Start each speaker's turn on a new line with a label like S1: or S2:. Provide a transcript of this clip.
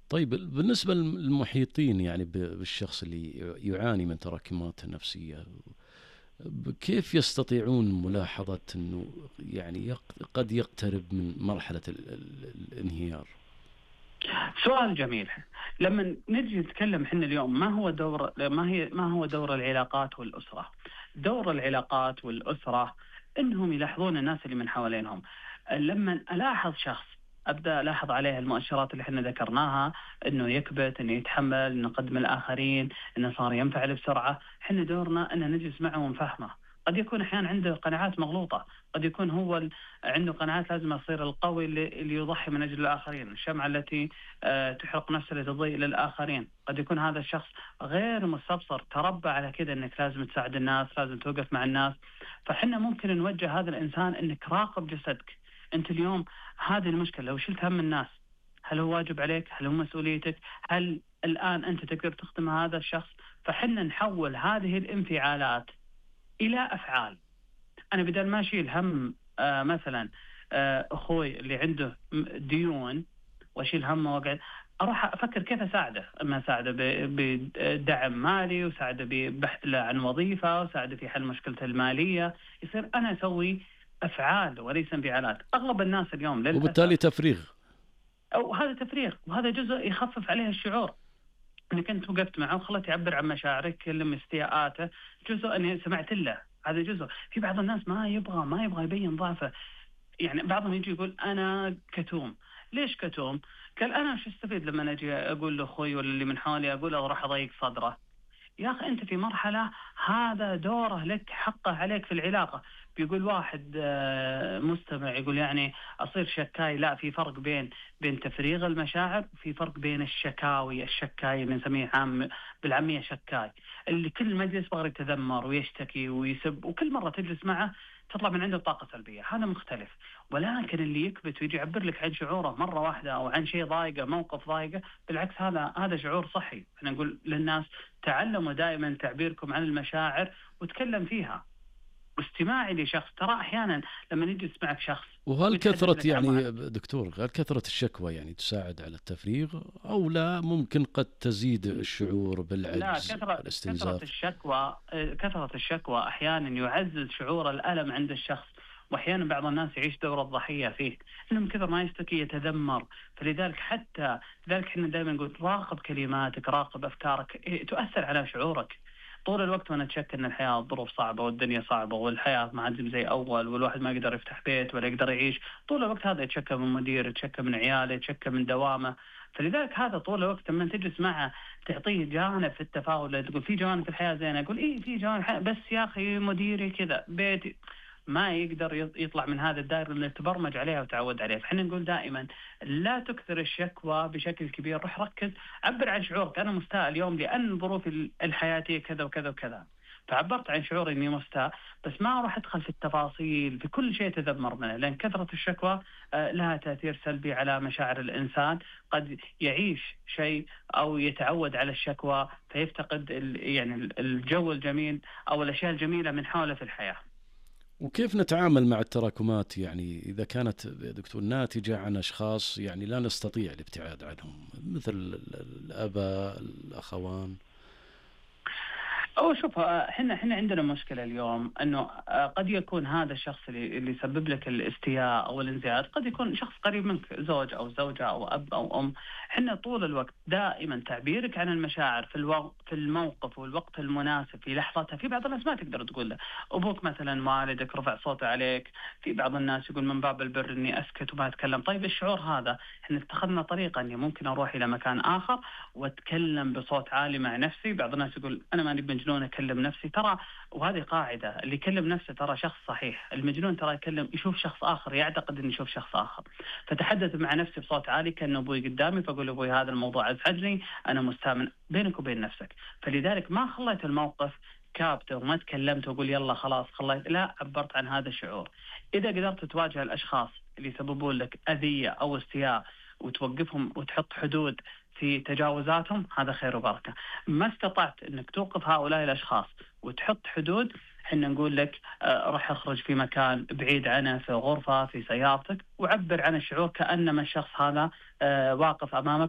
S1: طيب بالنسبة للمحيطين يعني بالشخص اللي يعاني من تراكمات نفسية، كيف يستطيعون ملاحظة أنه يعني قد يقترب من مرحلة الانهيار؟
S2: سؤال جميل. لما نجي نتكلم حنا اليوم ما هو دور العلاقات والأسرة؟ دور العلاقات والأسرة إنهم يلاحظون الناس اللي من حوالينهم. لما ألاحظ شخص أبدأ ألاحظ عليه المؤشرات اللي احنا ذكرناها، إنه يكبت، إنه يتحمل، إنه يقدم الآخرين، إنه صار ينفعل بسرعة. حنا دورنا إن نجلس معه ونفهمه. قد يكون أحيانا عنده قناعات مغلوطة، قد يكون هو عنده قناعات لازم يصير القوي اللي يضحي من أجل الآخرين، الشمعة التي تحرق نفسه لتضيء للآخرين. قد يكون هذا الشخص غير مستبصر، تربى على كده أنك لازم تساعد الناس، لازم توقف مع الناس. فحنا ممكن نوجه هذا الإنسان أنك راقب جسدك. أنت اليوم هذه المشكلة، لو شلت هم الناس، هل هو واجب عليك؟ هل هو مسؤوليتك؟ هل الآن أنت تقدر تخدم هذا الشخص؟ فحنا نحول هذه الانفعالات إلى أفعال. أنا بدل ما أشيل هم مثلا أخوي اللي عنده ديون واشيل همه واقعد، اروح افكر كيف اساعده. اما اساعده بدعم مالي، وساعده ببحث له عن وظيفه، وساعده في حل مشكلته الماليه. يصير انا اسوي افعال وليس انفعالات. اغلب الناس اليوم للاسف،
S1: وبالتالي تفريغ.
S2: او هذا تفريغ، وهذا جزء يخفف عليه الشعور. انك انت وقفت معه وخلته يعبر عن مشاعرك، كلم استياءاته، جزء اني سمعت له. هذا جزء. في بعض الناس ما يبغى يبين ضعفه. يعني بعضهم يجي يقول أنا كتوم. ليش كتوم؟ قال أنا شو استفيد لما أجي أقول لأخوي ولا اللي من حولي، أقول له راح أضيق صدره. يا أخي أنت في مرحلة هذا دوره لك، حقه عليك في العلاقة. بيقول واحد مستمع يقول يعني أصير شكاي. لا، في فرق بين تفريغ المشاعر، وفي فرق بين الشكاوي. الشكاي اللي نسميه بالعامية شكاي، اللي كل مجلس بغى يتذمر ويشتكي ويسب، وكل مرة تجلس معه تطلع من عنده طاقة سلبية. هذا مختلف. ولكن اللي يكبت ويجي يعبر لك عن شعوره مرة واحدة، أو عن شيء ضايقه، موقف ضايقه، بالعكس هذا شعور صحي. أنا نقول للناس تعلموا دائما تعبيركم عن المشاعر وتكلم فيها. واستماعي لشخص، ترى أحيانا لما نجي نسمعك شخص
S1: وهل
S2: ويتحدث
S1: كثرة
S2: لك عن
S1: يعني دكتور، هل كثرة الشكوى يعني تساعد على التفريغ، أو لا ممكن قد تزيد الشعور
S2: لا،
S1: بالعجز
S2: كثرة
S1: والاستنزاف؟
S2: الشكوى، أحيانا يعزز شعور الألم عند الشخص. وأحيانا بعض الناس يعيش دور الضحية فيه، إنه من كثر ما يشتكي يتذمر. لذلك احنا دائما نقول راقب كلماتك، راقب أفكارك، تؤثر على شعورك. طول الوقت وانا اتشك ان الحياه الظروف صعبه والدنيا صعبه والحياه ما عاد زي اول، والواحد ما يقدر يفتح بيت ولا يقدر يعيش. طول الوقت هذا يتشكى من مدير، يتشكى من عياله، يتشكى من دوامه. فلذلك هذا طول الوقت لما تجلس معه تعطيه جانب في التفاؤل، تقول في جوانب في الحياه زينه، يقول ايه في جوانب، بس يا اخي مديري كذا، بيتي. ما يقدر يطلع من هذا الدائره اللي تبرمج عليها وتعود عليها. فاحنا نقول دائما لا تكثر الشكوى بشكل كبير. روح ركز، عبر عن شعورك. انا مستاء اليوم لان ظروفي الحياتيه كذا وكذا وكذا، فعبرت عن شعوري اني مستاء. بس ما راح ادخل في التفاصيل في كل شيء تذمر منه، لان كثره الشكوى لها تاثير سلبي على مشاعر الانسان. قد يعيش شيء او يتعود على الشكوى فيفتقد يعني الجو الجميل او الاشياء الجميله من حوله في الحياه.
S1: وكيف نتعامل مع التراكمات يعني إذا كانت يا دكتور ناتجة عن أشخاص يعني لا نستطيع الابتعاد عنهم، مثل الآباء، الأخوان؟
S2: أو شوف، احنا عندنا مشكلة اليوم انه قد يكون هذا الشخص اللي يسبب لك الاستياء او الانزعاج قد يكون شخص قريب منك، زوج او زوجة او اب او ام. احنا طول الوقت دائما تعبيرك عن المشاعر في الموقف والوقت المناسب في لحظتها. في بعض الناس ما تقدر تقول له. ابوك مثلا، والدك رفع صوته عليك، في بعض الناس يقول من باب البر اني اسكت وما اتكلم. طيب الشعور هذا احنا اتخذنا طريقة اني ممكن اروح الى مكان اخر واتكلم بصوت عالي مع نفسي. بعض الناس يقول انا ماني بمجنون اكلم نفسي، ترى وهذه قاعده، اللي يكلم نفسه ترى شخص صحيح. المجنون ترى يشوف شخص اخر، يعتقد انه يشوف شخص اخر. فتحدث مع نفسي بصوت عالي كانه ابوي قدامي، فاقول ابوي هذا الموضوع ازعجني، انا مستأمن بينك وبين نفسك. فلذلك ما خليت الموقف كابته وما تكلمت واقول يلا خلاص خليت، لا، عبرت عن هذا الشعور. اذا قدرت تواجه الاشخاص اللي يسببون لك اذيه او استياء وتوقفهم وتحط حدود في تجاوزاتهم، هذا خير وبركة. ما استطعت أنك توقف هؤلاء الأشخاص وتحط حدود، حنا نقول لك راح اخرج في مكان بعيد عنه، في غرفة، في سيارتك، وعبر عن الشعور كأنما الشخص هذا واقف أمامك